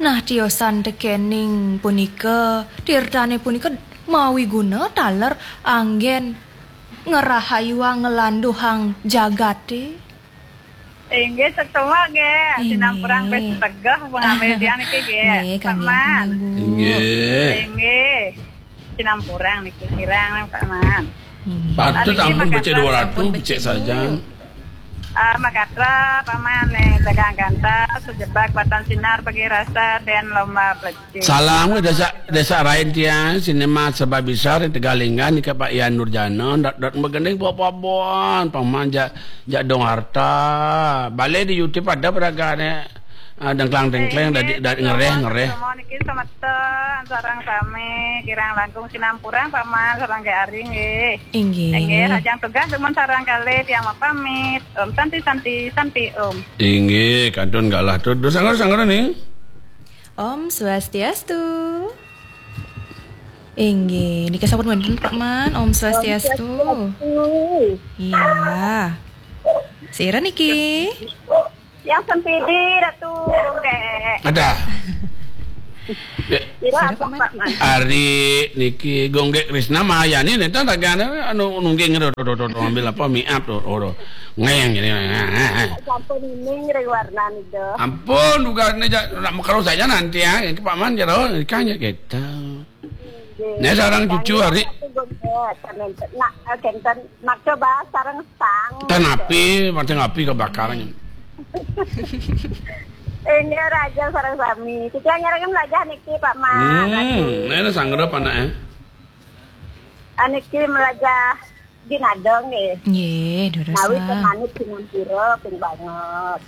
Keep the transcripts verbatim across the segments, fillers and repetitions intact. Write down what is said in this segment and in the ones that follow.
Nah, tiosan tekening punika, tirtane punika mawi guna taler anggen ngrahayuang nglanduhang jagate. Inggih, setuju nggih. Inggih. Sinampurang pes tegeh pengambil tiang niki nggih. Nggih, Pak kami Man. Inggih. Inggih. Sinampurang niki kirang Pak Man. Patut. Niki ampun, becik dua ratus, becik saja. Ah, makatra Pak Man nih dagang gantah sejebak batan sinar bagi rasa dan lomba plecik. Salam ke desa, desa rain tiang, sinema sebab besar yang Tegalingga nika Pak Yan Nurjana, dot, dot begending pok-pok bon, Pak Man jak, jak dong harta. Balik di YouTube ada peragane, ah, dengklang-dengkleng, dadi, dadi ngereh-ngereh. Semua niki semeton, sareng sami, kirang langkung sinampurang, Pak Man, sareng Ge Ari nggih. Inggih. Inggih, hajang tugas dumun sareng kalih tiang mapamit. Om Santi, Santi, Santi, Om. Inggih, kantun galah tu. Duh, sangger, sangger ning. Om Swastiastu. Inggih, nika sampun wonten Pak Man. Om Swastiastu. Om Swastiastu. Iya. Sira niki. Yang sempidi Ratu Gondek. Ada. Kira apa, Pak Man? Ari niki Gondek Krisna Mayani nenten ragane anu nungging do, do, do, do, do, ambil apa, miap do, do, do. Ngeng ini. Sampun ini ngeri warna nih do. Ampun, duga ini ja, nak kalau saya nanti ya, ke Pak Man jero, kanya kita. Nggih. Nek sareng cucu, Ari. Nak, eh, kenten, nak coba sareng stang. Ten api, mateng api kebakaran. Ini raja sareng sami. Kita nyerengin raja niki, Pak Man. Hmm, ini sanggup anaknya. Aniki melajah ginadong nggih. Nggih, durus. Nawi lah. Kemanit sinampura ping banget.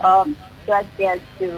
Om Swastiastu.